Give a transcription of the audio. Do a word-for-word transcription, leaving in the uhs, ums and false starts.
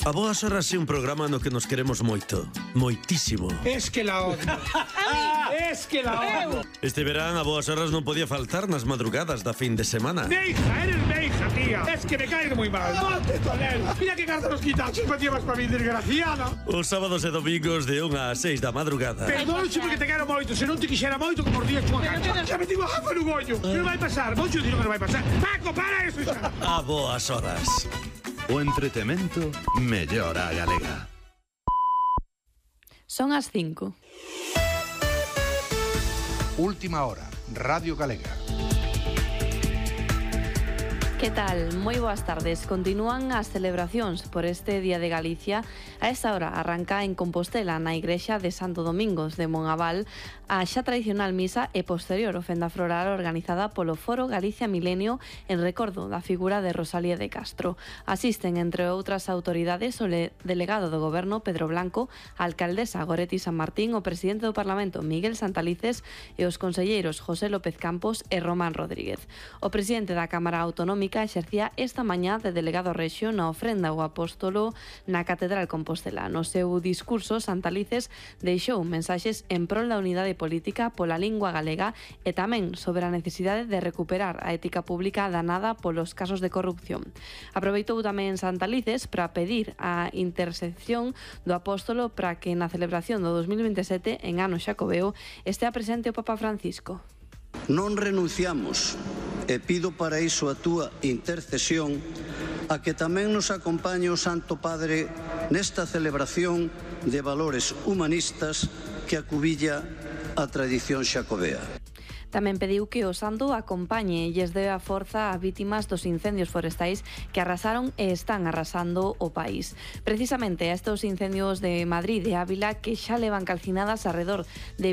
A Boas Horas é un programa no que nos queremos moito, moitísimo. Es que la odio. Es que la odio. Este verán a Boas Horas non podía faltar nas madrugadas da fin de semana. Meija, eres meija, tía. Es que me caes muy mal. ¡Monte, Tonel! Mira que carta los quitachos me llevas para mi desgraciada. Os sábados e domingos de unha a seis da madrugada. Perdón, porque te quero moito. Se non te quixera moito, como os días chua cancha. Xa me digo a jafa no goño. Que non vai pasar. Moito dino que non vai pasar. Paco, para eso xa. A Boas Horas. O entretemento mellor a galega. Son as cinco. Última hora, Radio Galega. Que tal? Moi boas tardes. Continúan as celebracións por este Día de Galicia. A esta hora arranca en Compostela, na igrexa de Santo Domingos de Monabal, a xa tradicional misa e posterior ofenda floral organizada polo Foro Galicia Milenio en recordo da figura de Rosalía de Castro. Asisten, entre outras autoridades, o delegado do Goberno Pedro Blanco, a alcaldesa Goretti San Martín, o presidente do Parlamento Miguel Santalices e os conselleiros José López Campos e Román Rodríguez. O presidente da Cámara Autonómica exercía esta mañá de delegado rexio na ofrenda ao apóstolo na Catedral Compostela. No seu discurso, Santalices deixou mensaxes en prol da unidade política pola lingua galega e tamén sobre a necesidade de recuperar a ética pública danada polos casos de corrupción. Aproveitou tamén Santalices para pedir a intercesión do apóstolo para que na celebración do dos mil veintesete, en ano xacobeo, estea presente o Papa Francisco. Non renunciamos e pido para iso a túa intercesión a que tamén nos acompañe o Santo Padre nesta celebración de valores humanistas que acubilla a tradición xacobea. Tamén pediu que o santo acompañe e lles dé a forza a vítimas dos incendios forestais que arrasaron e están arrasando o país. Precisamente a estes incendios de Madrid e Ávila, que xa levan calcinadas alrededor de